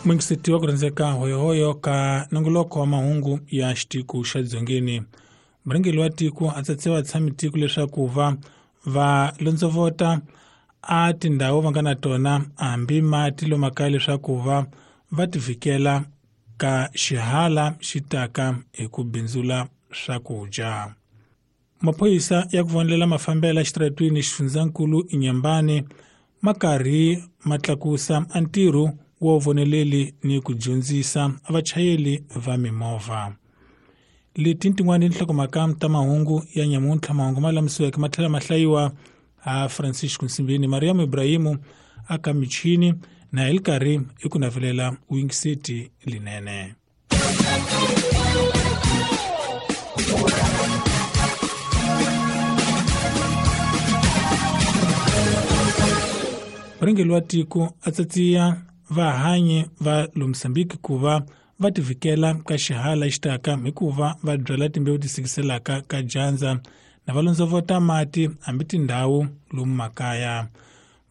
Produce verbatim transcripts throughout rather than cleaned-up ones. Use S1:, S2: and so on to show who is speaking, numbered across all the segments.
S1: Mwingiseti wa ku rhandzeka hoyohoyo ka nongoloko wa mahungu ya xitiko xa dzongeni. Murhangeri wa tiko a tsatse vatshami tiko leswaku va va londzovota a tindhawu va nga na tona hambi mati lomakaya leswaku va va tivikela ka xihala xi taka hi ku bindzula swakudya. Maphorisa ya ku vonelela mafambelo exitaratwini xifundzankulu Inhambane ma karhi ma tlakusa a ntirho wo voneleli ni ku dyondzisa vachayeri va mimovha. Leti tin'wana tinhlokomhaka ta mahungu ya nyamuntlha mahungu ma lamisiweke ma tlhela ma hlayiwa a Francisco Nsimbini, Mariam Ibrahimu aka michini na hi karhi i ku navelela wingiseti linene. Murhangeri wa tiko a tsatsiya vahanyi va Mozambique ku va va tivikela ka xihala xitaka hikuva va byala timbewu ti sikiselaka ka dyandza na va londzovota mati hambi tindhawu lomu makaya.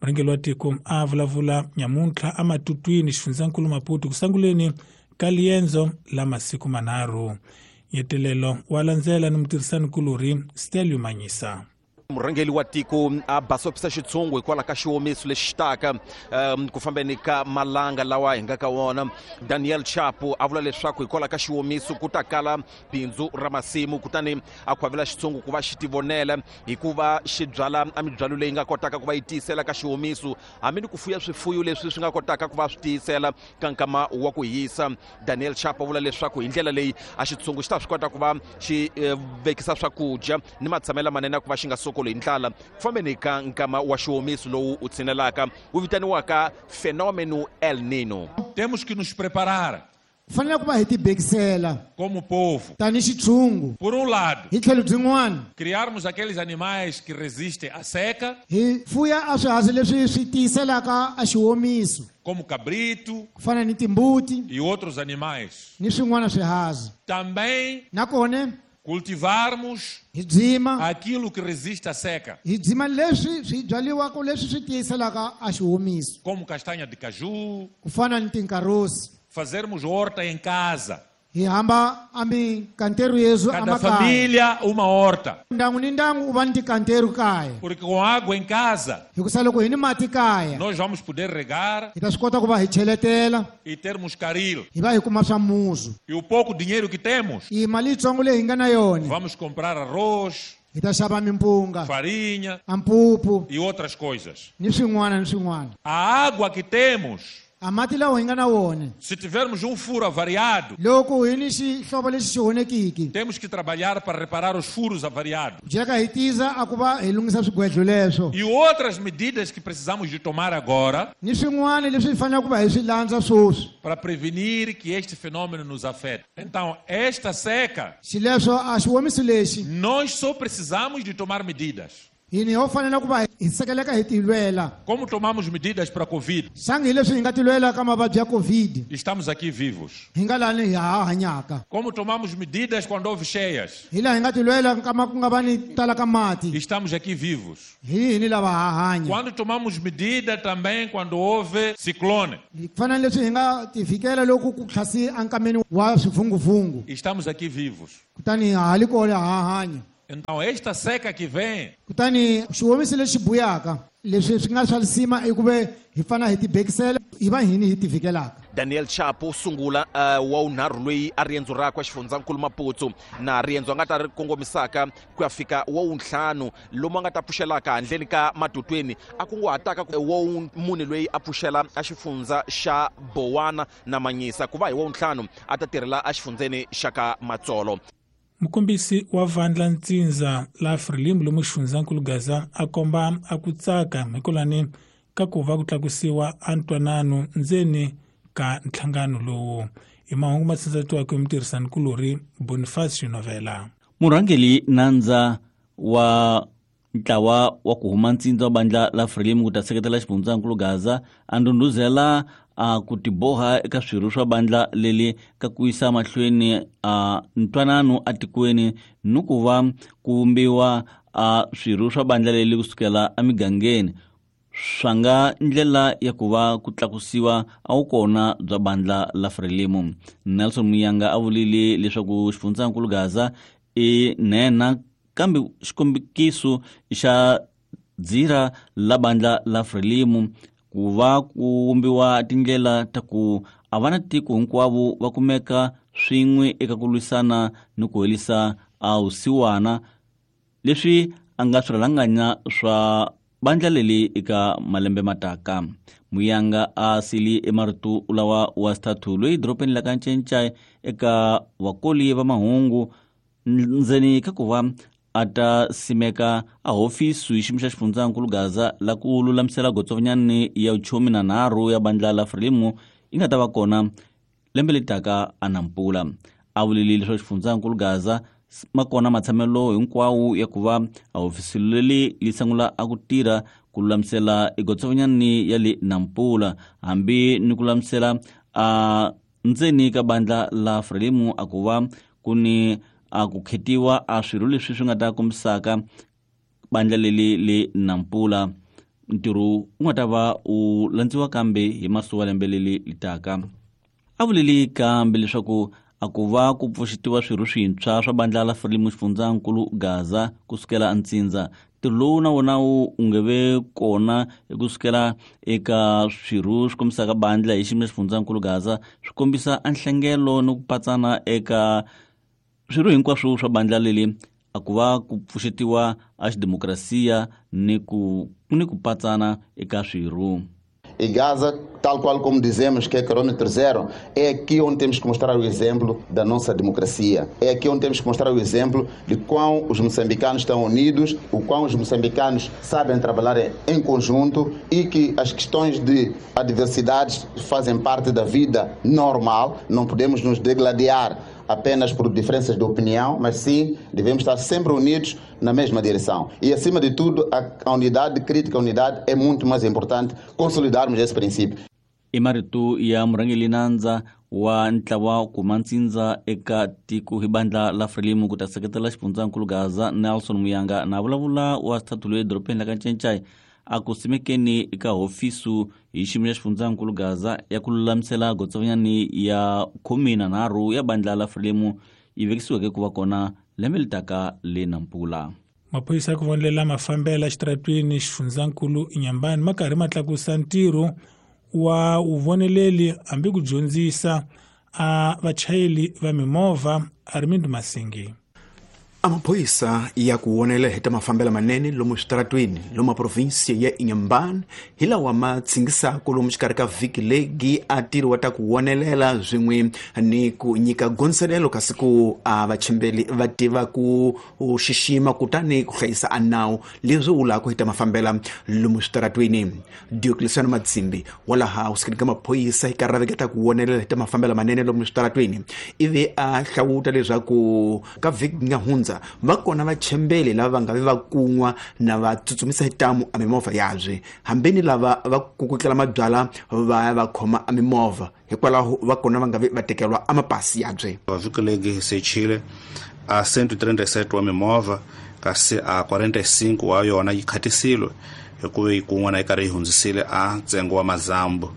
S1: Murhangeri wa tiko a vulavula nyamuntlha ematutwini xifundzankulu Maputo ku sunguleni ka liendzo la masiku manharhu. Nyetelelo wa landzela ni mutirhisanikulorhi Stelio Manyisa.
S2: Murhangeri wa tiko a basopisa xitshungu hikwalaho ka xiwomiso lexi taka um, ku fambeni ka malanga lawa hi nga ka wona. Daniel Chapo a vula leswaku hikwalaho ka xiwomiso ku ta kala bindzu ra masimu, kutani a khwavela xitshungu ku va xi tivonela hikuva xi byala a mibyalo leyi nga kotaka ku va yi tiyisela ka xiwomiso, hambi ni ku fuya swifuyo leswi swi nga kotaka ku va swi tiyisela ka nkama wa ku hisa. Daniel Chapo a vula leswaku hi ndlela leyi a xitshungu xi ta swi kota ku va xi eh, vekisa swakudya ni matshamelo lamanene ku va xi nga sokoli hi ndlala ku fambeni ka nkama wa xiwomiso lowu u tshinelaka wu vitaniwaka fenômeno El Nino.
S3: Temos que nos preparar
S4: fanele ku va hi tibekisela
S3: como povo.
S4: Tani xitshungu.
S3: Por um lado,
S4: hi tlhelo byin'wana,
S3: criarmos aqueles animais que resistem à seca,
S4: hi fuya a swiharhi leswi swi tiyiselaka a xiwomiso,
S3: como cabrito
S4: ku fana ni timbuti
S3: e outros animais.
S4: Ni swin'wana swiharhi.
S3: Também
S4: nakona
S3: cultivarmos
S4: hi byima
S3: aquilo que resiste à seca,
S4: hi byima leswi swi byaliwaka leswi swi tiyiselaka a xiwomiso,
S3: como castanha de caju,
S4: ku fana ni tinkarosi,
S3: fazermos horta em casa,
S4: hi hamba a mikanteru yesu
S3: cada família uma horta,
S4: ndangu ni ndangu u va ni tikanteru kaya,
S3: porque com água em casa
S4: hikusa loko hi ni mati kaya
S3: nós vamos poder regar
S4: hi ta swi kota ku va hi cheletela
S3: e termos caril,
S4: hi va hi kuma swa muzu,
S3: e o pouco dinheiro que temos
S4: i mali yitsongo leyi hi nga na yona
S3: vamos comprar arroz,
S4: hi ta xava mimpunga,
S3: farinha
S4: ampupu
S3: e outras coisas.
S4: Ni swin'wana ni swin'wana.
S3: A água que temos,
S4: a mati lawa hi nga na wona,
S3: se tivermos um furo avariado,
S4: loko hi ni xihlovo lexi xi onhekiki,
S3: temos que trabalhar para reparar os furos avariados.
S4: Jeka hi tiza a ku va hi lunghisa swigwedlo leswo.
S3: E outras medidas que precisamos de tomar agora,
S4: ni swin'wana leswi hi faneleke ku va hi swi landza sweswi,
S3: para prevenir que este fenômeno nos afete. Então, esta seca,
S4: xileswo a xiwomiso lexi,
S3: nós só precisamos de tomar medidas.
S4: Hini ho fanele ku va hi sekeleka hi tilwela.
S3: Como tomamos medidas para a Covid?
S4: Sangi leswi hi nga tilwela ka mavabyi ya Covid.
S3: Estamos aqui vivos.
S4: Hi nga lani hi ha hanyaka.
S3: Como tomamos medidas quando houve cheias?
S4: Hi laha hi nga tilwela nkama ku nga va ni tala ka mati.
S3: Estamos aqui vivos.
S4: Hi hini lava ha hanya.
S3: Quando tomamos medida também quando houve ciclone.
S4: Hi fana leswi hi nga tivikela loko ku tlhasi ankameni wa swivunguvungu.
S3: Estamos aqui vivos.
S4: Kutani ha li kona ha hanya.
S3: Então esta seca que vem,
S4: kutani xiwomiso lexi buyaka leswi swi nga swa lisima i ku ve hi fana hi tibekisela hi va hini hi tivikelaka.
S2: Daniel Chapo sungula uh, wa unharhu loyi a riendzo rakwe xifundzankulu Maputo na riendzo a nga ta ri kongomisaka ku ya fika wa wuntlhanu lomu a nga ta pfuxelaka handleni ka Matutweni a kunguhataka wa mune loyi a pfuxela a xifundza xa Bowana na Manyisa ku va hi wa wuntlhanu a ta tirhela exifundzeni xa ka Matsolo.
S1: Mukombisi wa vandla Ntsindza la Frelimo lomu xifundzankulu Gaza a komba a ku tsaka hikolani ka ku va ku tlakusiwa a ntwanano ndzeni ka nhlangano lowu. I mahungu ma tsindzatiwaka hi mutirhisanikulorhi Boniface Novela.
S5: Murhangeri nandza wa ntlawa wa ku huma Ntsindza wa bandla la Frelimo ku ta seketela xifundzankulu Gaza a ndhundhuzela a ku tiboha eka swirho swa bandla leli ka ku yisa mahlweni a ntwanano atikweni ni ku va ku vumbiwa a swirho swa bandla leli kusukela emigangeni. swa nga ndlela ya ku va ku tlakusiwa a wu kona bya bandla la Frelimo. Nelson Muyanga a vulile leswaku xifundzankulu Gaza i nhenha kambe xikombiso xa dzira la bandla la Frelimo ku va ku vumbiwa tindlela ta ku a va na tiko hinkwavo va kumeka swin'we eka ku lwisana ni ku herisa a vusiwana leswi a nga swirhalanganya swa bandla leli eka malembe mataka. Muyanga a sili emarito lawa wa xithathu loyi dorobeni la ka Ncencai eka vakoli va mahungu ndzeni ka ku va a ta simeka a hofisi hi xiyimo xa xifundzankulu Gaza la ku lulamisela gotsovanyani ya vuchomi na nharhu ya bandla la Frelimo yi nga ta va kona lembe leri taka a Nampula. A vulile leswaku xifundzankulu Gaza ma kona matshamelo hinkwawo ya ku va a hofisi leri li sungula a ku tirha ku lulamisela egotsovanyani ya le Nampula hambi ni ku lulamisela a ndzeni ka bandla la Frelimo a ku va ku ni a ku khetiwa a swirho leswi swi nga ta kombisaka bandla leli le Nampula. Ntirho wu nga ta va u landziwa kambe hi masuwa lembe leli li taka. A vuleli kambe leswaku a ku va ku pfuxetiwa swirho swintshwa swa bandla la Frelimo xifundzankulu Gaza kusukela ntsindza. Ntirho lowu na wona wu nge ve kona kusukela eka swirho swi kombisaka bandla hi xiyimo xa xifundzankulu Gaza swi kombisa a nhlengelo ni ku patsana eka swirho hinkwaswo swa bandla leli a ku va ku pfuxetiwa a xidemokrasiya ni ku ni ku patsana eka swirho.
S6: E Gaza, tal qual como dizemos que é quilômetro zero, é aqui onde temos que mostrar o exemplo da nossa democracia. É aqui onde temos que mostrar o exemplo de quão os moçambicanos estão unidos, o quão os moçambicanos sabem trabalhar em conjunto e que as questões de adversidades fazem parte da vida normal. Não podemos nos degladiar apenas por diferenças de opinião, mas sim devemos estar sempre unidos na mesma direção. E, acima de tudo, a, a unidade crítica, a unidade é muito mais importante consolidarmos esse princípio.
S5: I marito ya murhangeri nandza wa ntlawa kuma ntsindza eka tiko hi bandla la Frelimo ku ta seketela xifundzankulu Gaza Nelson Muyanga na vulavula wa xithathu loyi edorobeni la ka Ncencai a ku simekeni eka hofisu hi xiyimo xa xifundzankulu Gaza ya ku lulamisela gotsovanyani ya khume na nharhu ya bandla la Frelimo yi vekisiweke ku va kona lembe leri taka le Nampula.
S1: Maphorisa ya ku vonelela mafambelo exitaratweni xifundzankulu Inhambane ma karhi ma tlakusa ntirho wa vuvoneleli hambi ku dyondzisa a vachayeri va mimovha Armindo Masingi.
S7: Amaphoyisa ya ku vonela hi ta mafambelo manene lomu switaratweni lomu provinsia ya Inhambane hi lawa ma tsingisaka lomu xikarhi ka vhiki legi a tirhiwa ta ku vonelela swin'we ni ku nyika gondzelelo kasi ku a vachembeli va tiva ku xixima kutani ku hlayisa a nawu leswi vulaka hi ta mafambela lomu switaratweni. Diocleciano Matsimbi wa laha kusukeni ka maphorisa hi karhi ta ku vonelela hi ta mafambelo manene lomu switaratweni ivi a hlawuta leswaku ka vhiki nga hundza va kona vachembeli lava va nga vi va kun'wa na va tsutsumisa hi tamu a mimovha yabye hambeni lava va kukutlela mabyala va va khoma a mimovha hikwalaho va kona va nga vi va tekelwa a mapasi yabye.
S8: Vhiki legi sechile a cento e trinta e sete wa mimovha kasi a quarenta e cinco wa yona yi khatisile hikuva yi kun'wana yi karhi yi hundzisile a ntsengo wa mazambu.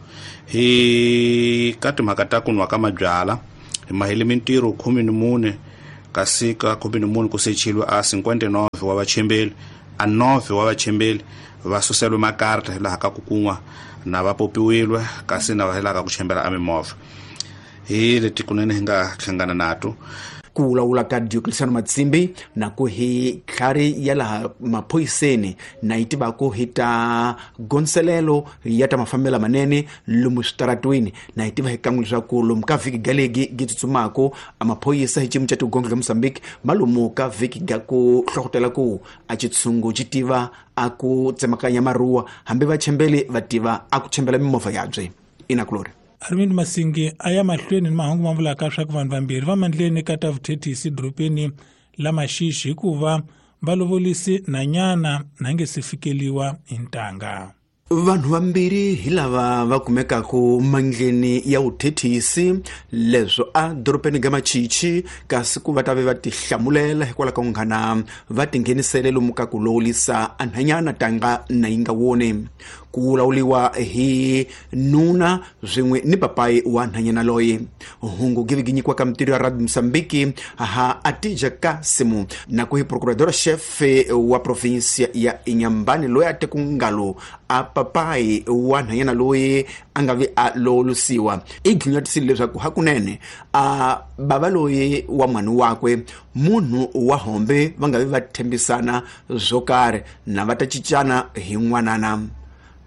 S8: Hi ka timhaka ta ku nwa ka mabyala hi mahele mintirho khume ni mune kasi ka khume ni mune ku sechilwe a cinquenta e nove wa vachembeli a nove wa vachembeli va suselwe makarta hi laha ka ku kun'wa na va popiwilwe kasi na va hi laha ka ku chembela a mimovha. Hi leti kunene hi nga hlangana nato.
S7: Ku vulavula ka Diocleciano Matsimbi na ku hi tlhari ya laha maphoyiseni na yi tivaka hi ta gondzelelo ya ta mafambelo manene lomu switaratweni na yi tiva hi kan'we leswaku lomu ka vhiki galegi gi tsutsumaka a maphoyisa hi xiyimo xa tigongo ka Mozambique ma lomu ka vhiki ga ku hlohlotela ku a xitshungu xi tiva a ku tsemakanya maruwa hambi vachembeli va tiva a ku chembela mimovha yabye. Ina Glory.
S1: Armindo Masingi a ya mahlweni ni mahungu ma vulaka swa ku vanhu vambirhi va mandleni ka ta vuthethisi dorobeni la Maxixi hikuva va lovolisi nanyana na nge se fikeliwa hi ntanga.
S7: Vanhu vambirhi hi lava va kumekaka mandleni ya vuthethisi leswo a dorobeni ga Machichi kasi ku va ta ve va tihlamulela hikwalaho ka munghana va tinghenisele lomu ka ku lowulisa anhanyana tanga na yi nga woni. ku lawuliwa hi nuna swin'we ni papai wa nhanyana loyi. Hungu gi vinyikiwa ka mitirho ya Radio Mozambique ha Atija Kasimu na ku hi procurador chefe wa provinsia ya Inhambane loyi a te ku ngalo a papai wa nhanyana loyi a nga vi a lolusiwa i ghinyatisile leswaku hakunene a bava loyi wa n'wana wakwe munhu wa hombe va nga vi va tshembisana swo karhi na va ta cincana hi n'wanana.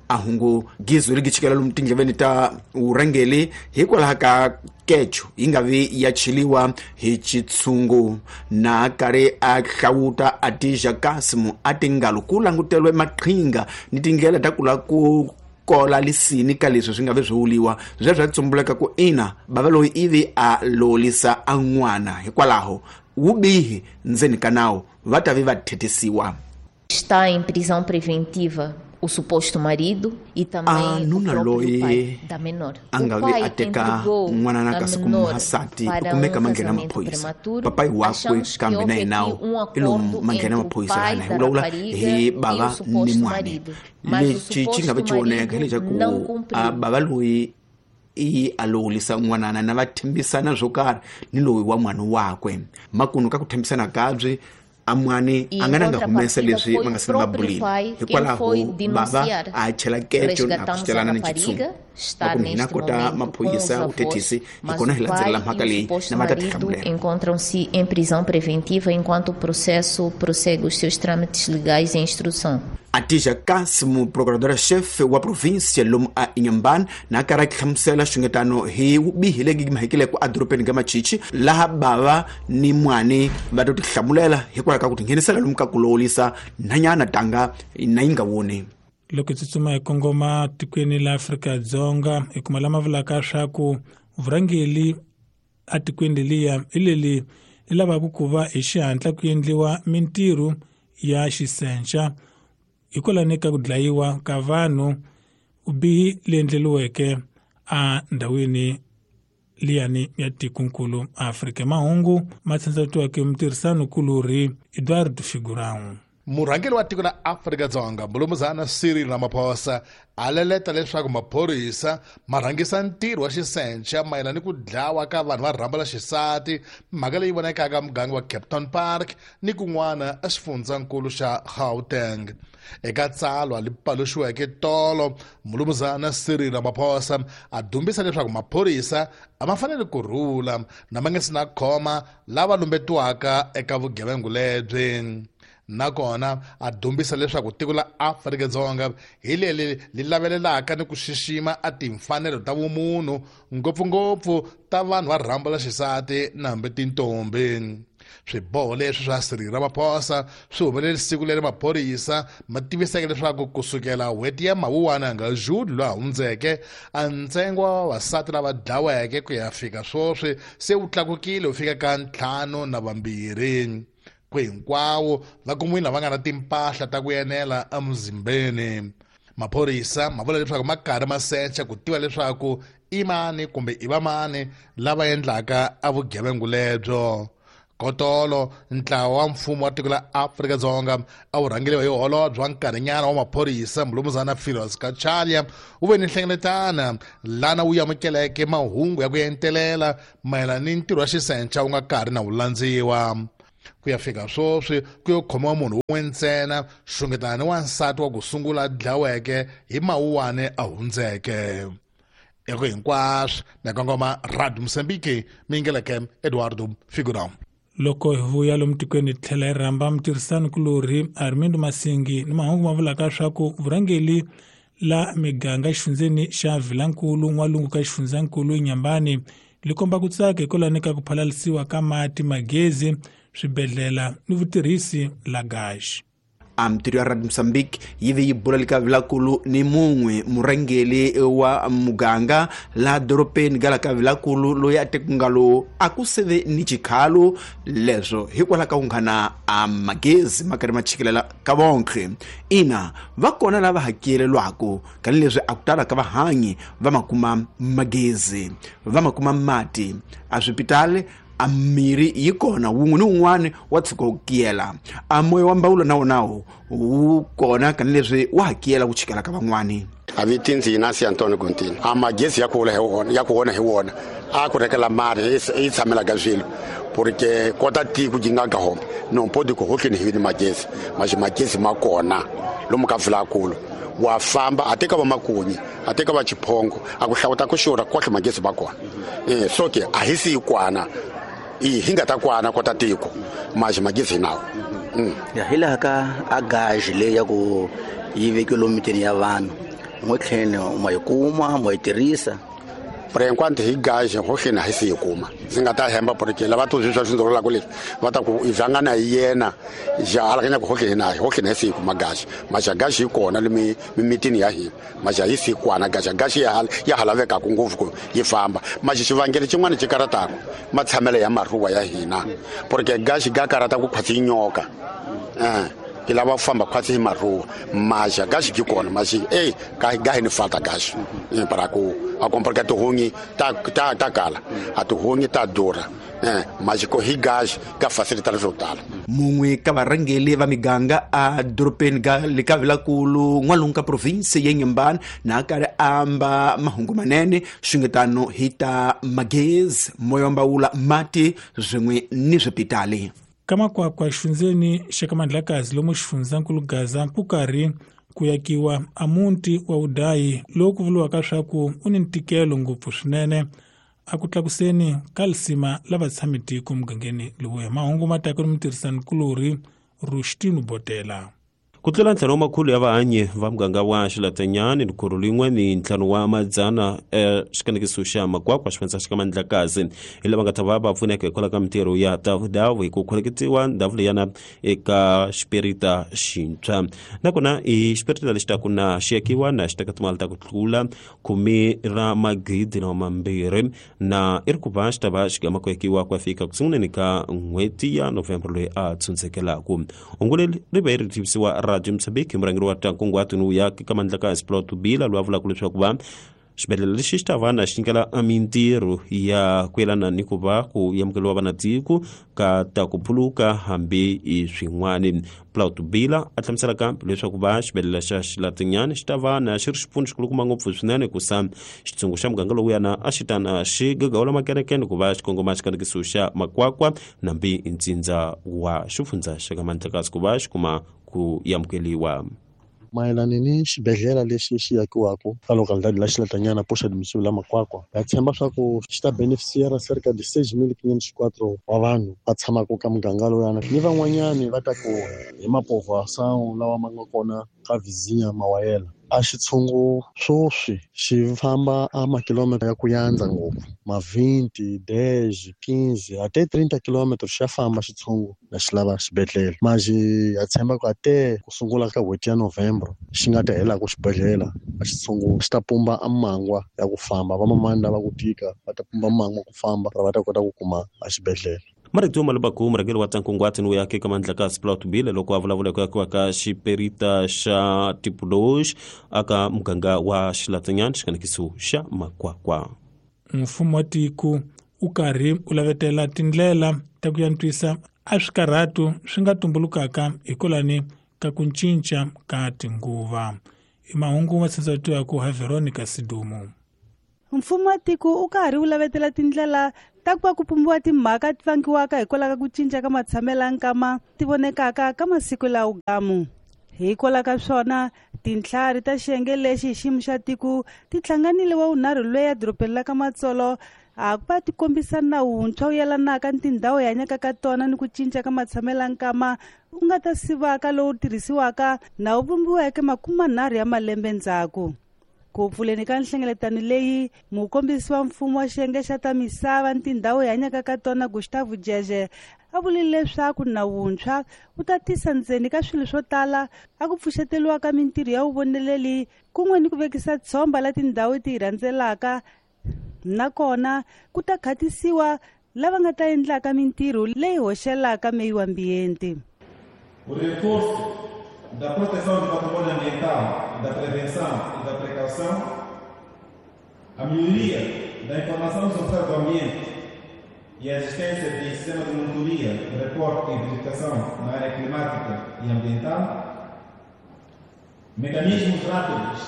S7: A hungu gizo ri gichikela lomu tindleveni ta vurhangeri hikwalaho ka kecho yi nga vi ya cheliwa hi xitshungu na karhi a hlawuta Atija Kasimu a tingalo ku languteriwe maqhinga ni tindlela ta ku lava ku kola lisini ka leswi swi nga vi swi wuliwa sweswo swa tsumbuleka ku ina bava loyi ivi a lolisa a n'wana hikwalaho wubihi ndzeni ka nawu va ta vi va thetisiwa.
S9: Está em prisão preventiva o suposto marido e também o próprio pai da menor.
S7: A nga vi a teka n'wana na kasi ku muhasati u kumeka ma nghena maphorisa papai wakwe kambe na yena i lomu ma nghena maphorisa lana hi vulavula hi bava ni n'wana. Lexi xi nga vi xi voneka hi leswaku a bava loyi i a lowulisa n'wanana na va tshembisana swo karhi ni loyi wa n'wana wakwe makunu ka ku tshembisana kabyi a mwani a nga na nga humesa leswi va nga se va bulini hikwalaho bava a chela kecho na ku celana ni xitshungu makumu hina kota maphorisa vuthethisi hi kona hi landzelela mhaka leyi na va ta tihlamulela.
S9: Encontram-se em prisão preventiva enquanto o processo prossegue os seus trâmites legais em instrução.
S7: Atija Kasimu procuradora-chefe wa província lomu a Inhambane na karhi a hlamusela xungetano hi vubihi lebyi mahekileke edorobeni ka Machichi laha bava ni n'wani va to tihlamulela hikwalaho ka ku tinghenisela lomu ka ku lowulisa nhanyana tanga na yi nga voni.
S1: Loko hi tsutsuma hi kongoma tikweni la Afrika-Dzonga hi kuma lama vulaka swa ku vurhangeri etikweni leliya hi leli ri lavaka ku va hi xihatla ku endliwa mintirho ya xisenca hikwalaho ka ku dlayiwa ka vanhu vubihi leyi endleriweke endhawini liyani ya tikonkulu Afrika. Mahungu ma tsandzatiweke mutirhisani-kulorhi Eduardo Figurão.
S10: Murhangeri wa tiko la Afrika-Dzonga Mulumuzana Cyril Ramaphosa a leleta leswaku maphorisa ma rhangisa ntirho wa xisenca mayelana ni ku dlawa ka vanhu va rhambo la xisati, mhaka leyi vonakaka muganga wa Kempton Park ni kun'wana exifundzankulu xa Gauteng. Eka tsalwa li paluxiweke tolo, Mulumuzana Cyril Ramaphosa a dumbisa leswaku maphorisa a ma fanele ku rhula na ma nga si na khoma lava lumbetiwaka eka vugevenga lebyi. Nakona a dumbisa leswaku tiko la Afrika-Dzonga hi leri li lavelelaka ni ku xixima a timfanelo ta vumunhu ngopfungopfu ta vanhu va rhambo la xisati na hambi tintombi. Swiboho leswi swa Cyril Ramaphosa swi humelele siku leri maphorisa ma tiviseke leswaku kusukela n'hweti ya Mawuwani nga June lowu hundzeke a ntsengo wa vavasati lava dlaweke ku ya fika sweswi se wu tlakukile wu fika ka ntlhanu na vambirhi. Ku hinkwawo va kumiwile lava nga na timpahla ta ku enela emuzimbeni. Maphorisa ma vula leswaku ma karhi ma secha ku tiva leswaku i mani kumbe i vamani lava endlaka a vugevenga lebyo. Kotolo ntlawa wa mfumo wa tiko la Afrika-Dzonga a wu rhangeriwa hi holobye wa nkarhinyana wa maphorisa Mulumuzana Firoz Cachalia wu ve ni nhlengeletano lana wu amukeleke mahungu ya ku entelela mayelana ni ntirho wa xisenca wu nga karhi na wu landziwa. Ku ya fika sweswi ku yo khomiwa munhu wun'we ntsena xungetana ni wansati wa ku sungula dlaweke hi Mawuwani a hundzeke. Eko hinkwaswo na kongoma Radio Mozambique mingeleke Eduardo Figurão.
S1: Loko hi vuya lomu tikweni hi tlhela hi rhamba mutirhisani-kulorhi Armindo Masingi ni mahungu ma vulaka swa ku vurhangeri la miganga exifundzeni xa Vilankulu n'walungu ka xifundzankulu Inhambane li komba ku tsaka hikwalaho ka ku phalalisiwa ka mati, magezi, swibedhlele ni vutirhisi la gaxi.
S7: A mitirho ya Radio Mozambique yi ve yi bula lika Vilankulu ni mun'we murhangeri wa muganga laha dorobeni ga la ka Vilankulu loyi a tekungalo a ku seve ni xikhalo leswo hikwalaho ka ku nghana a magezi ma karhi ma chikelela ka vonkhe. Ina va kona lava hakelelwaka kanileswi a ku tala ka vahanyi va ma kuma magezi va ma kuma mati a swipitali A mirhi yi kona wun'we ni wun'wana wa tshuka wu kiyela. A moya wa mbawulo na wona wu kona kanileswi wa hakiyela ku chikela ka van'wani.
S11: A vitinzi Inácio Antônio Contino. A magezi ya ku hi wona ya ku wona hi wona a ku rekela mari yi tshamela ka swilo porque kota tiko yi nga ka homa não pode ku hotleni hi ni magezi mas magezi ma kona lomu ka vulakulu wa famba a teka va makunyi a teka va chiphongo a ku hlawuta ku xurha kohle magezi ma kona eh so ke a hi si kwana i hi nga ta kwana kota tiko mas magezi nawo
S12: ya hi laha ka a gaji leyi ya ku yi vekiwe lomu mitini ya vanhu n'we ma yi kuma ma yi tirhisa.
S11: Por enquanto hi gaji hohleni a hi si yi kuma ndzi nga ta hemba porque lava tu swi swi ndzi leswi va ta ku i vangana hi yena ja alakanya ku hohleni na hohleni hi si yi kuma gaji maxa gaji yi kona le mimitini ya hina maxa yi si kwana gaji gaji ya ya ha lavekaka ngopfu ku yi famba maxa xivangelo xin'wana xi karataka matshamelo ya maruwa ya hina porque gaji ga karata ku khwatsi nyoka eh ki lava ku famba khwatsi hi maruwa maxa gaji yi kona maxi ey ga ga hi ni falta gaji para ku a comprar que tihunyi ta ta ta kala a tihunyi ta durha eh maxi ko hi gaji ka facilitar swo tala.
S7: Mun'we ka varhangeli va miganga a dorobeni ga le ka vilakulu n'walungu ka province ya Inhambane na karhi amba mahungu manene xingetano hi ta magezi moya wa mbawula mati swin'we ni swipitali.
S1: Ka Makwakwa xifundzeni xa ka Mandlakazi lomu xifundzankulu Gaza ku karhi ku yakiwa a muti wa Udayi lowu ku vuriwaka swa ku u ni ntikelo ngopfu swinene a ku tlakuseni ka lisima la vatshami tiko mugangeni lowuya. Mahungu ma taka ni mutirhisanikulorhi Rushtinu Botela.
S13: Ku tlula ntlhanu wa makhulu ya vahanyi va muganga wa Xilatanyani ni khuru lin'we ni ntlhanu wa madzana xikanekiso xa Makwakwa xifundza xa ka Mandlakazi hi lava nga ta va va pfuneka hikwalaho ka mintirho ya davudavu hi ku khoneketiwa ndhawu leyana eka xipirita xintshwa. Nakona i xipirita lexi taku na xi yakiwa na xi teka timali ta ku tlula khume ra magidi na mambirhi na i ri ku va xi ta va xi gama ku yakiwa ku ya fika ku sunguleni ka n'hweti ya November loyi a tshundzekelaku. Hungu leri ri ve ri tivisiwa Radio Mozambique murhangeri wa nkunguhato ni ya ka Mandlakazi Plot Bila loyi a vulaka leswaku va xibedhlele lexi xi ta va na xi nyikela mintirho ya ku yelana ni ku va ku amukeriwa vanatiko ka ta ku phuluka hambi i swin'wani. Plot Bila a hlamusela kambe leswaku va xibedhlele xa Xilatinyani xi ta va na xi ri xipfuno xikulukumba ngopfu swinene ku sa xitshungu xa muganga lowuyana a xi ta na xi gagawula makerekene ku va xi kongoma xikanekiso xa Makwakwa nambi ntsindza wa xifundza xa ka Mandlakazi ku va xi kuma ku amukeriwa.
S14: Mayelana ni xibedhlele lexi xi yakiwaka ka localidade la Xilatanyana poxa admissível la Makwakwa ha tshemba swa ku xi ta beneficiara cerca de seis mil quinhentos e quatro wa vanhu va tshamaka ka muganga lowuyana ni van'wanyani va ta ku hi mapovoação lawa ma nga kona ka vizinha mawayela. A xitshungu swoswi xi famba a makilomita ya ku yandza ngopfu ma vinte, dez, quinze até trinta quilômetros xa famba xitshungu na xi lava xibedhlele maxi ha tshemba ku ate ku sungula ka n'hweti ya Novembro xi nga ta helaku xibedhlele a xitshungu xi ta pumba a mangwa ya ku famba vamamani lava ku tika va ta pumba mangwa ku famba va ta kota ku kuma a xibedhlele.
S13: Marito Malabaku murhangeri wa nkunguhato ni ya ka Mandlakazi Plot Bila loko a vulavula ku yakiwa ka xiperita xa Tipulox aka muganga wa Xilatanyani xikanekiso xa Makwakwa.
S1: Mfumo wa tiko u karhi u lavetela tindlela ta ku antswisa a swikarhatu swi nga tumbulukaka hikwalani ka ku cinca ka tinguva. I mahungu ma tshatsatiwaka hi Veronica Sidumo.
S15: Mfumo wa tiko u karhi u lavetela tindlela ta ku va ku pumbiwa timhaka ti vangiwaka hikwalaho ka ku cinca ka matshamelo ya nkama ti vonekaka ka masiku lawa gamu. Hikwalaho ka swona tintlhari ta xiyenge lexi hi xiyimo xa tiko ti hlanganile wa vunharhu loyi edorobeni la ka Matsolo a ku va ti kombisa nawu wuntshwa wu yelanaka ni tindhawu hi hanyaka ka tona ni ku cinca ka matshamelo ya nkama wu nga ta sivaka lowu tirhisiwaka na wu vumbiweke makume nharhu ya malembe ndzhaku. Ku pfuleni ka nhlengeletano leyi mukombisi wa mfumo wa xiyenge xa ta misava ni tindhawu hi hanyaka ka tona Gustavo Jeje a vurile leswaku nawu wuntshwa wu ta tisa ndzeni ka swilo swo tala a ku pfuxeteliwa ka mintirho ya vuvoneleli kun'we ni ku vekisa tshomba la tindhawu ti hi rhandzelaka nakona ku ta khatisiwa lava nga ta endlaka mintirho leyi hoxelaka meio ambiente.
S16: O reforço da proteção do patrimônio ambiental, da prevenção e da precaução, a melhoria da informação social do ambiente e a existência de sistema de monitoria, reporte e verificação na área climática e ambiental, mecanismos rápidos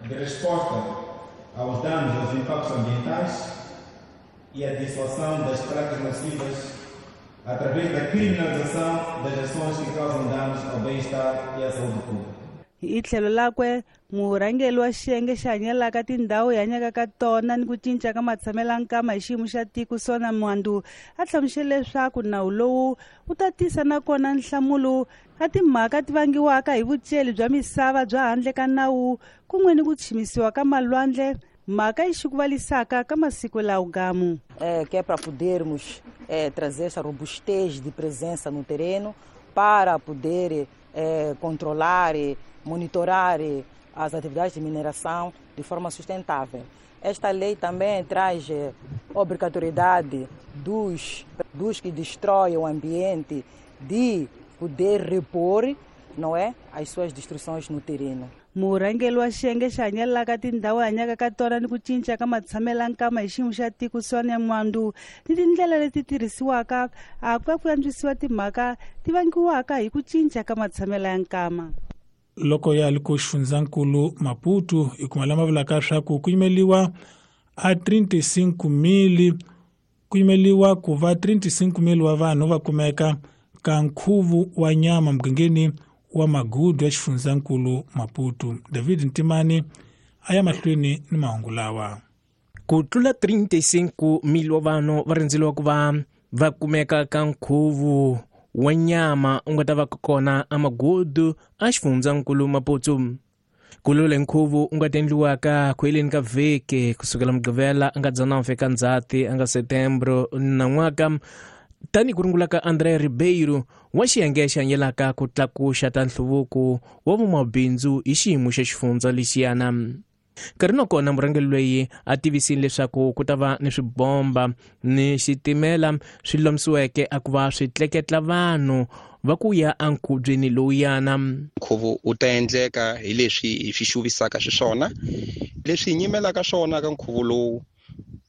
S16: de resposta aos danos e aos impactos ambientais e a dissuasão das práticas nocivas através da criminalização das ações que causam danos ao bem-estar e à saúde pública.
S15: Hi tlhelo lakwe murhangeri wa xiyenge xi hanyelaka tindhawu hi hanyaka ka tona ni ku cinca ka matshamelankama hi xiyimo xa tiko Sona Mwandu a hlamusele leswaku nawu lowu wu ta tisa nakona nhlamulo a timhaka ti vangiwaka hi vuceli bya misava bya handle ka nawu kun'we ni ku chimisiwa ka malwandle mhaka yi xikuvalisaka ka masiku lawo gamu.
S17: É, que é para podermos é, trazer essa robustez de presença no terreno para poder é, controlar e monitorar as atividades de mineração de forma sustentável. Esta lei também traz obrigatoriedade dos, dos que destroem o ambiente de poder repor, não é, as suas destruições no terreno.
S15: Murhangeri wa xiyenge xi hanyelaka tindhawu hi hanyaka ka tona ni ku cinca ka matshamelankama hi xiyimo xa tiko Sonia Mwandu ni tindlela leti tirhisiwaka a ku va ku antswisiwa timhaka ti vangiwaka hi ku cinca ka matshamela ya nkama.
S1: Loko ya li ku xifundzankulu Maputo hi kuma lama vulaka swa ku ku yimeliwa a trinta e cinco mil ku yimeliwa ku va trinta e cinco mil wa vanhu va kumeka ka nkhuvo wa nyama mugangeni wa Magudu ya xifundzankulu Maputo. David Ntimani a ya mahlweni ni mahungu lawa.
S18: Ku tlula trinta e cinco mil wa vanhu va rindzeliwa ku va va kumeka ka nkhuvo wa nyama u nga ta va kona eMagudu a xifundzankulu Maputo. Ku lule nkhuvo u nga ta endliwaka ku heleni ka vhiki kusukela Mugqivela a nga dzana fika Ndzhati a nga Setembro nan'waka tani ku rungula ka André Ribeiro wa xiyenge xi hanyelaka ku tlakuxa ta nhluvuko wa vumabindzu hi xiyimo xa xifundza lexiyana. Nkarhi na kona murhangeri loyi a tivisile leswaku ku ta va ni swibomba ni xitimela swi lomisiweke a ku va swi tleketla vanhu va ku ya enkhubyeni lowuyana.
S19: Nkhuvo wu ta endleka hi leswi hi swi xuvisaka xiswona, leswi hi nyimelaka swona ka nkhuvo lowu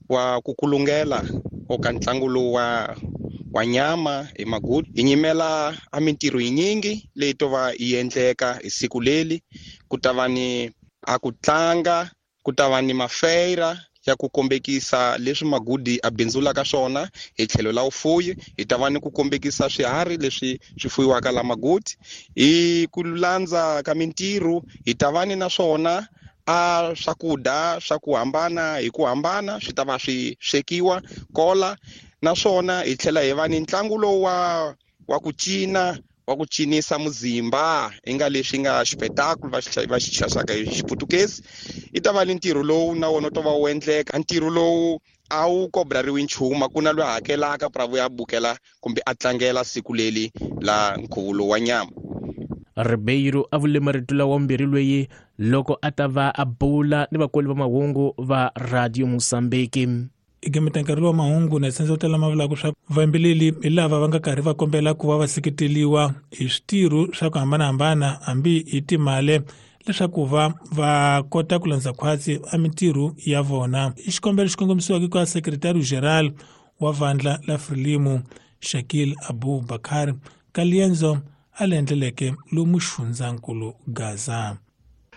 S19: wa ku kulungela o ka ntlangu lowu wa wa nyama hi Magudu. Hi nyimela a mintirho yinyingi leyi to va yi endleka hi siku leli. Ku ta va ni a ku tlanga, ku ta va ni mafeira ya ku kombekisa leswi Magudi a bindzulaka swona hi tlhelo la vufuyi. Hi ta va ni ku kombekisa swiharhi leswi swi fuyiwaka la Magudi. Hi ku landza ka mintirho hi ta va ni naswona a swakudya swa ku hambana hi ku hambana swi ta va swi swekiwa kola. Naswona hi tlhela hi va ni ntlangu lowu wa wa ku cina, wa ku cinisa muzimba i nga leswi nga xipetakulu va xi va xi xaxaka hi Xiputukezi. I ta va ni ntirho lowu na wona wu ta va wu endleka. Ntirho lowu a wu kobrariwi nchumu, ku na loyi a hakelaka pra vuya bukela kumbe a tlangela siku leli la nkhuvo lowu wa nyama.
S18: Ribeiro a vule marito lawa mbirhi loyi loko a ta va a bula ni vakoli va mahungu va Radio Mozambique.
S1: Igemeta nkarhi wa mahungu na senzo tala mavula swa vayimbeleri hi lava va nga karhi va kombela ku va va seketeriwa hi switirho swa ku hambanahambana hambi hi timali leswaku va va kota ku landza khwatsi a mintirho ya vona. I xikombelo xi kongomisiwaka ka Secretary General wa vandla la Frelimo Shakil Abu Bakar ka liendzo a le endleleke lomu xifundzankulu Gaza.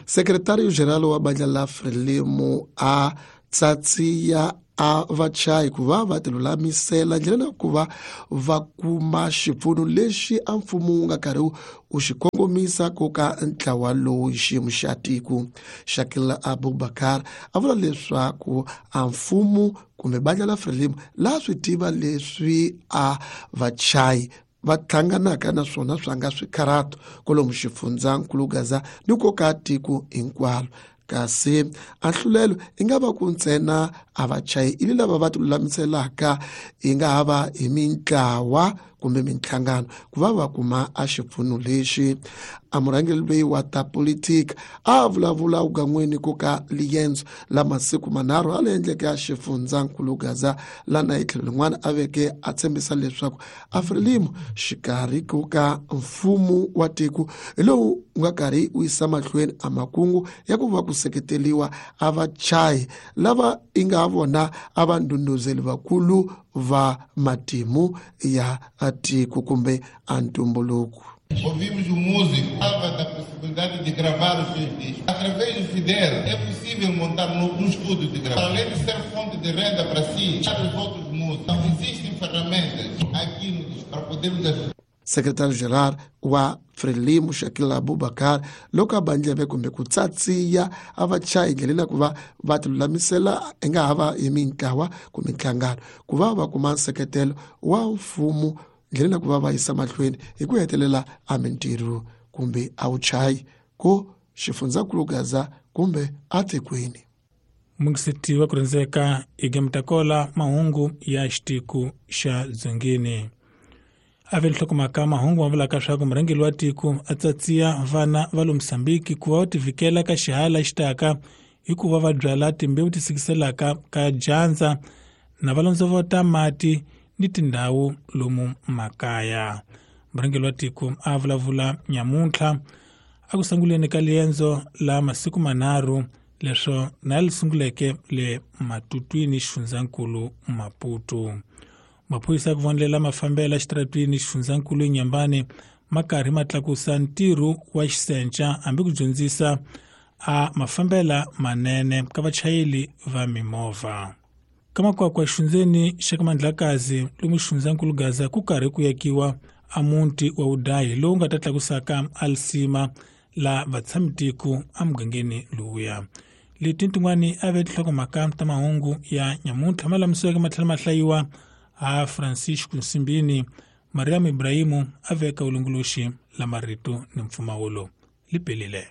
S20: Secretario General wa bandla la Frelimo a tsatsiya a vachayi ku va va tilulamisela ndlela ku va va kuma xipfuno lexi a mfumo wu nga karhi wu xi kongomisa ku ka ntlawa lowu hi xiyimo xa tiko. Shakil Abubakar a vula leswaku a mfumo kumbe bandla la Frelimo laha swi tiva leswi a vachayi va hlanganaka na swona swa nga swikharato kwalomu xifundzankulu Gaza ni ku ka tiko hinkwalo. Kasi a nhlulelo i nga va ku ntsena a vachayi ili lava va tilulamiselaka i nga ha va hi mintlawa kumbe minhlangano ku va va kuma a xipfuno lexi. A murhangeri loyi wa ta politika a vulavula ugan'weni ku ka liendzo la masiku manharhu a le endleke a xifundzankulu Gaza lana hi tlhelo rin'wana a veke a tshembisa leswaku a Frelimo xikarhi ku ka mfumo wa tiko hi lowu wu nga karhi wu yisa mahlweni a makungu ya ku va ku seketeriwa a vachayi lava i nga a vona a va ndhundhuzeli vakulu va matimu ya tiko kumbe a ntumbuluko.
S21: Ouvimos o músico, falava da possibilidade de gravar os seus discos. Através do Fidel, é possível montar um estúdio de gravação. Além de ser fonte de renda para si, para os outros músicos. Então, existem ferramentas aqui no disco para podermos ajudar.
S20: Secretário-geral wa Frelimo Shakil Abubakar loko a bandleve kumbe ku tsatsiya a va chayi ndlela ku va va tilulamisela i nga ha va hi mintlawa kumbe nhlangano ku va va kuma nseketelo wa mfumo ndlela ku va va yisa mahlweni hi ku hetelela a mintirho kumbe a wuchayi ku xifundzankulu Gaza kumbe atikweni.
S1: Mungiseti wa ku rhendzeka igemtakola mahungu ya xitiku xa Dzongeni. Ave nhlokomhaka mahungu ma vulaka leswaku murhangeri wa tiko a tsatsiya vana va le Mozambique ku va va tivikela ka xihala xi taka hikuva va byala timbewu ti sikiselaka ka dyandza na va londzovota mati ni tindhawu lomu makaya. Murhangeri wa tiko a vulavula nyamuntlha a ku sunguleni ka liendzo la masiku manharhu leswo na li sunguleke le Matutwini xifundzankulu Maputo. Maphorisa ku vonela mafambelo xitaratwini xifundzankulu Nyambani ma karhi ma tlakusa ntirho wa xisenca hambi ku dyondzisa a mafambela manene ka vachayeri va mimovha. Ka makwakwa xifundzeni xa ka Mandlakazi lomu xifundzankulu Gaza ku karhi ku yakiwa a muti wa vudahi lowu nga ta tlakusaka alisima la vatshamitiko emugangeni lowuya. Leti tin'wani a ve tinhlokomhaka ta mahungu ya nyamuntlha ma lamisiweke ma tlhela ma hlayiwa a Francisco Nsimbini. Mariam Ibrahimu a veka vulongoloxi la marito ni mpfumawulo lipelile.